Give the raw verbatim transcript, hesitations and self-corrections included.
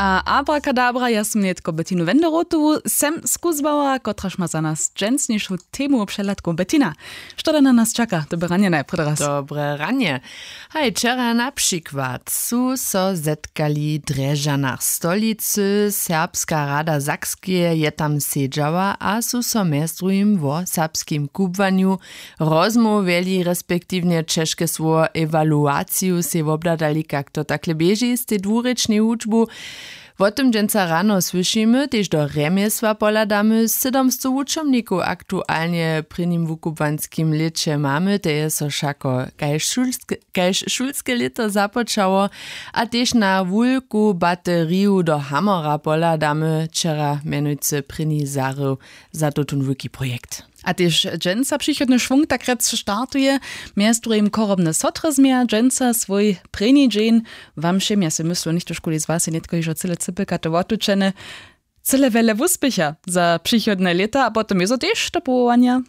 A abrakadabra, ja sym nětko Bettinu Wenderotowu sem skuzłała, kotraž ma za nas dźensnišu temu přehladkow. Bettina, što da na nas čaka? Dobre ranje najprjedy raz. Dobre ranje. Haj, wčera na přikład su so zetkali w Drježdźanach stolicy, Serbska rada Sakskeje je tam sedźała a su so mjez druhim wo serbskim kubłanju rozmołwjeli, respektiwnje ćežke słowo ewaluaciju sej wobhladali, kak to takle běži z tej dwurěčnej wučbu. Wo tym dźensa rano słyšimy, tež do rjemjesła pohladamy. Sydomstow wučomnikow aktualnje w prěnim wukubłanskim lěće mamy, te je so wšako kaž šulske lěto započało. A tež na wulku bateriju do hamora pohladamy, wčera mjenujcy prěni zahrył za tutón wulki projekt. A tež dźensa přichodny šwung tak rjec startuje. Mjez druhim chorobne sotry změja dźensa swój prěni dźeń. Wam wšěm, ja sej myslu, něchtožkuli z was je nětko hižo cyle cypelka to wotučene, cyle wjele wuspěcha za přichodne lěta a potom je so tež do powołanja.